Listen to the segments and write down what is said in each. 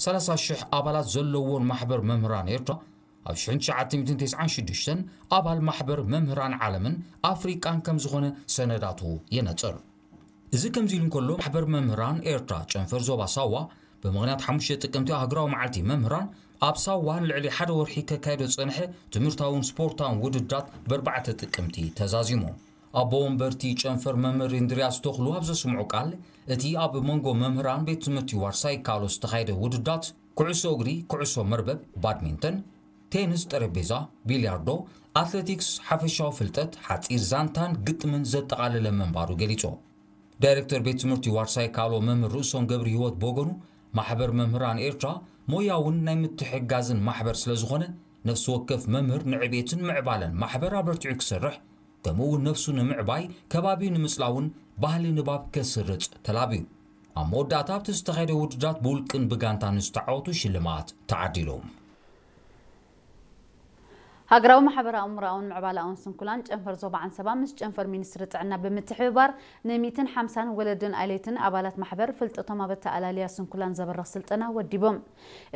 ሰላሳ ሽሕ ኣባላት ዘለዎን ማሕበር መምህራን ኤርትራ፣ ኣብ ሽሕን ትሽዓተ ሚእትን ተስዓን ሽዱሽተን ኣባል ማሕበር መምህራን ዓለምን ኣፍሪቃን ከም ዝኾነ ሰነዳቱ የነጽር። እዚ ከምዚ ኢሉ እንከሎ፣ ማሕበር መምህራን ኤርትራ ጨንፈር ዞባ ሳዋ ብምኽንያት ሓሙሽተ ጥቅምቲ ሃገራዊ መዓልቲ መምህራን ኣብ ሳዋ ንልዕሊ ሓደ ወርሒ ከካይዶ ዝጸንሐ ትምህርታውን ስፖርታውን ውድድራት ብኣርባዕተ ጥቅምቲ ተዛዚሙ። ኣቦ ወንበርቲ ጨንፈር መምህር እንድርያስ ተኽሉ ኣብ ዘስምዑ ቃል፣ እቲ ኣብ መንጎ መምህራን ቤት ትምህርቲ ዋርሳይ ካሎ ዝተኻየደ ውድድራት ኩዕሶ እግሪ፣ ኩዕሶ መርበብ፣ ባድሚንተን፣ ቴንስ ጠረጴዛ፣ ቢልያርዶ፣ ኣትሌቲክስ፣ ሓፈሻዊ ፍልጠት፣ ሓጺር ዛንታን ግጥምን ዘጠቓለለ ምንባሩ ገሊጹ። ዳይሬክተር ቤት ትምህርቲ ዋርሳይ ካሎ መምህር ርእሶም ገብረ ህይወት ብወገኑ፣ ማሕበር መምህራን ኤርትራ ሞያውን ናይ ምትሕግጋዝን ማሕበር ስለ ዝኾነ፣ ነፍሲ ወከፍ መምህር ንዕቤትን ምዕባለን ማሕበር ኣበርቲዑ ክሰርሕ፣ ከምኡ እውን ነፍሱ ንምዕባይ፣ ከባቢኡ ንምጽላውን ባህሊ ንባብ ከስርጽ ተላብዩ። ኣብ መወዳእታ ኣብቲ ዝተኻየደ ውድድራት ብውልቅን ብጋንታን ዝተዓወቱ ሽልማት ተዓዲሉ። ሃገራዊ ማሕበራዊ ኣእምሮኣውን ምዕባለኣውን ስንኩላን ጨንፈር ዞባ ዓንሰባ ምስ ጨንፈር ሚኒስትሪ ጥዕና ብምትሕብባር ን ሚእትን ሓምሳን ወለድን ኣለይትን ኣባላት ማሕበር ፍልጠቶም ኣብ ኣተኣላልያ ስንኩላን ዘበርኽ ስልጠና ወዲቦም።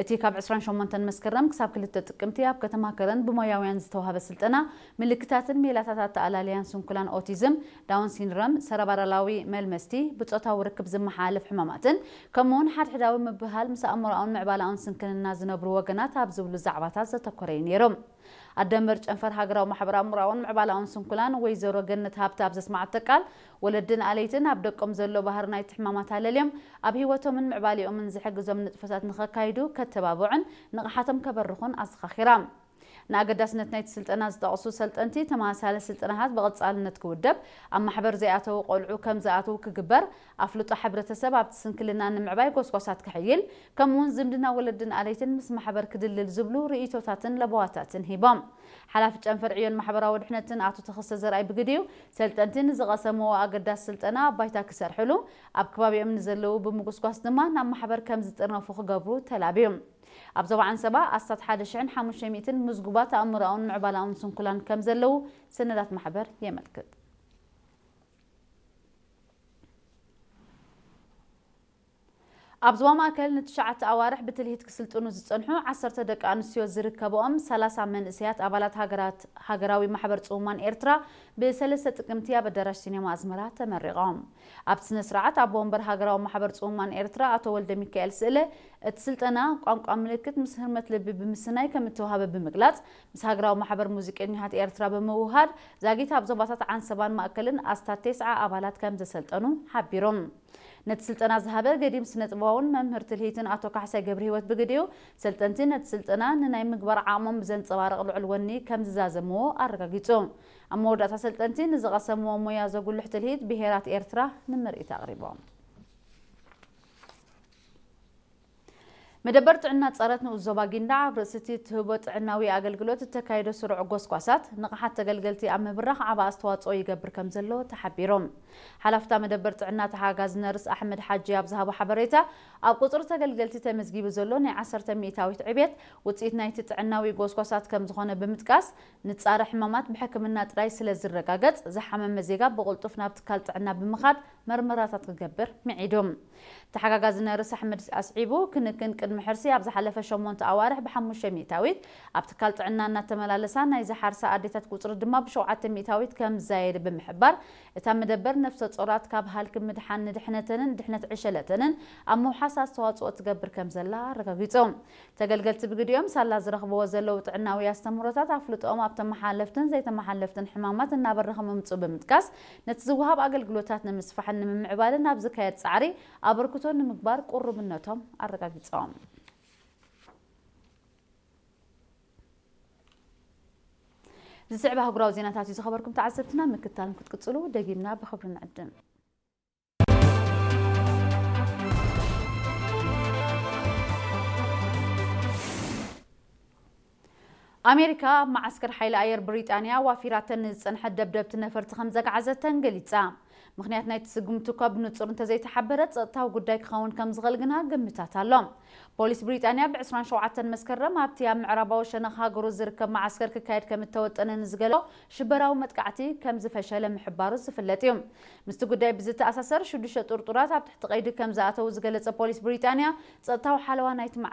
እቲ ካብ ዕስራን ሸሞንተን መስከረም ክሳብ ክልተ ጥቅምቲ ኣብ ከተማ ከረን ብሞያውያን ዝተዋህበ ስልጠና፣ ምልክታትን ሜላታት ኣተኣላልያን ስንኩላን ኦቲዝም፣ ዳውን ሲንድሮም፣ ሰረባራላዊ መልመስቲ፣ ብጾታዊ ርክብ ዝመሓላለፍ ሕማማትን ከምኡውን ሓድሕዳዊ ምብህሃል ምስ ኣእምሮኣውን ምዕባለኣውን ስንክልና ዝነብሩ ወገናት ኣብ ዝብሉ ዛዕባታት ዘተኮረ እዩ ነይሩ። ኣደንበር ጨንፈር ሃገራዊ ማሕበራዊ ኣእምሮኣውን ምዕባለኣውን ስንኩላን ወይዘሮ ገነት ሃብተ ኣብ ዘስማዓቶ ቃል፣ ወለድን ኣለይትን ኣብ ደቆም ዘሎ ባህሪ ናይቲ ሕማማት ኣለልዮም ኣብ ህይወቶምን ምዕባሌኦምን ዝሕግዞም ንጥፈታት ንኸካይዱ ከተባብዑን ንቕሓቶም ከበርኹን ኣዘኻኺራ። ንኣገዳስነት ናይቲ ስልጠና ዝጠቕሱ ሰልጠንቲ፣ ተመሳሳሊ ስልጠናታት ብቐጻልነት ክውደብ፣ ኣብ ማሕበር ዘይኣተዉ ቆልዑ ከም ዝኣትዉ ክግበር፣ ኣፍልጦ ሕብረተሰብ ኣብቲ ስንክልና ንምዕባይ ጎስጓሳት ክሕይል፣ ከምኡውን ዝምድና ወለድን ኣለይትን ምስ ማሕበር ክድልድል ዝብሉ ርእይቶታትን ለበዋታትን ሂቦም። ሓላፊ ጨንፈር ዕዮን ማሕበራዊ ድሕነትን ኣቶ ተኸስተ ዘርኣይ ብግዲኡ፣ ሰልጠንቲ ንዝቐሰምዎ ኣገዳሲ ስልጠና ኣብ ባይታ ክሰርሕሉ፣ ኣብ ከባቢኦም ንዘለዉ ብምጉስጓስ ድማ ናብ ማሕበር ከም ዝጥርነፉ ክገብሩ ተላብዩ። ኣብ ዞባ ዓንሰባ ኣስታት ሓደ ሽሕን ሓሙሽተ ሚእትን ምዝጉባት ኣእምሮኣውን ምዕባለኣውን ስንኩላን ከም ዘለዉ ሰነዳት ማሕበር የመልክት። ኣብ ዞባ ማእከል ንትሽዓተ ኣዋርሕ ብትልሂት ክስልጥኑ ዝጸንሑ ዓሰርተ ደቂ ኣንስትዮ ዝርከብኦም ሰላሳ መንእሰያት ኣባላት ሃገራት፣ ሃገራዊ ማሕበር ጽሙማን ኤርትራ ብሰለስተ ጥቅምቲ ኣብ ኣዳራሽ ሲኔማ ኣዝመራ ተመሪቖም። ኣብቲ ስነ ስርዓት ኣቦ ወንበር ሃገራዊ ማሕበር ጽሙማን ኤርትራ ኣቶ ወልደ ሚካኤል ስእለ፣ እቲ ስልጠና ቋንቋ ምልክት ምስ ህርመት ልቢ ብምስናይ ከም እተዋህበ ብምግላጽ፣ ምስ ሃገራዊ ማሕበር ሙዚቀኛታት ኤርትራ ብምውሃድ፣ ዛጊት ኣብ ዞባታት ዓንሰባን ማእከልን ኣስታት ተስዓ ኣባላት ከም ዘሰልጠኑ ሓቢሮም። ነቲ ስልጠና ዝሃበ ገዲም ስነ ጥበባውን መምህር ትልሂትን ኣቶ ካሕሳይ ገብረ ህይወት ብግዲኡ፣ ሰልጠንቲ ነቲ ስልጠና ንናይ ምግባር ዓቕሞም ብዘንጸባርቕ ልዑል ወኒ ከም ዝዛዘምዎ ኣረጋጊጹ። ኣብ መወዳእታ ሰልጠንቲ ንዝቐሰምዎ ሞያ ዘጉልሕ ትልሂት ብሄራት ኤርትራ ንምርኢት ኣቕሪቦም። መደበር ጥዕና ጸረት ንኡስ ዞባ ጊንዳዕ ኣብ ርእሲ እቲ ትህቦ ጥዕናዊ ኣገልግሎት እተካይዶ ስሩዕ ጎስጓሳት፣ ንቕሓት ተገልገልቲ ኣብ ምብራኽ ዓቢ ኣስተዋጽኦ ይገብር ከም ዘሎ ተሓቢሩ። ሓላፍታ መደበር ጥዕና ተሓጋዚ ነርስ ኣሕመድ ሓጂ ኣብ ዝሃቦ ሓበሬታ፣ ኣብ ቁጽሪ ተገልገልቲ ተመዝጊቡ ዘሎ ናይ ዓሰርተ ሚእታዊት ዕብየት ውጽኢት ናይቲ ጥዕናዊ ጎስጓሳት ከም ዝኾነ ብምጥቃስ፣ ንጻረ ሕማማት ብሕክምና ጥራይ ስለ ዝረጋገጽ፣ ዝሓመመ ዜጋ ብቕልጡፍ ናብ ትካል ጥዕና ብምኻድ መርመራታት ክገብር ምዒዱ። ተሓጋጋዚ ነርስ ኣሕመድ ኣስዒቡ፣ ክንክን ቅድሚ ሕርሲ ኣብ ዝሓለፈ ሸሞንተ ኣዋርሕ ብሓሙሽተ ሚእታዊት ኣብ ትካል ጥዕና እናተመላለሳ ናይ ዝሓርሳ ኣዴታት ቁጽሪ ድማ ብሸውዓተ ሚእታዊት ከም ዝዛየደ ብምሕባር፣ እታ መደበር ነፍሰ ጾራት ካብ ሃልኪ ምድሓን ንድሕነተንን ድሕነት ዕሸለተንን ኣብ ምውሓስ ኣስተዋጽኦ ትገብር ከም ዘላ ኣረጋጊጹ። ተገልገልቲ ብግዲኦም ሳላ ዝረኽብዎ ዘለዉ ጥዕናዊ ኣስተምህሮታት ኣፍልጦኦም ኣብ ተመሓለፍትን ዘይተመሓለፍትን ሕማማት እናበረኸ ምምጽኡ ብምጥቃስ፣ ነቲ ዝወሃብ ኣገልግሎታት ንምስፋሕን ንምምዕባልን ኣብ ዝካየድ ጻዕሪ ኣበርክቶ ንምግባር ቁሩብነቶም ኣረጋጊጾም። ዝስዕብ ኣህጉራዊ ዜናታት እዩ ዝኸበርኩም ተዓዘብትና፣ ምክታልን ክትቅጽሉ ደጊምና ብኽብሪ ንዕድም። ኣሜሪካ ኣብ መዓስከር ሓይሊ ኣየር ብሪጣንያ ዋፊራተን ንዝጸንሐት ደብደብቲ ነፈርቲ ከም ዘግዓዘተን ገሊጻ። ምኽንያት ናይቲ ስጉምቲ እኳ ብንጹር እንተዘይተሓበረ፣ ጸጥታዊ ጉዳይ ክኸውን ከም ዝኽእል ግና ግምታት ኣሎ። ፖሊስ ብሪጣንያ ብ ዕስራን ሸውዓተን መስከረም ኣብቲ ኣብ ምዕራባዊ ሸነኽ ሃገሩ ዝርከብ መዓስከር ክካየድ ከም እተወጠነ ንዝገለጾ ሽበራዊ መጥቃዕቲ ከም ዝፈሸለ ምሕባሩ ዝፍለጥ እዩ። ምስቲ ጉዳይ ብዝተኣሳሰር፣ ሽዱሽተ ጥርጡራት ኣብ ትሕቲ ቀይዲ ከም ዝኣተዉ ዝገለጸ ፖሊስ ብሪጣንያ፣ ጸጥታዊ ሓለዋ ናይቲ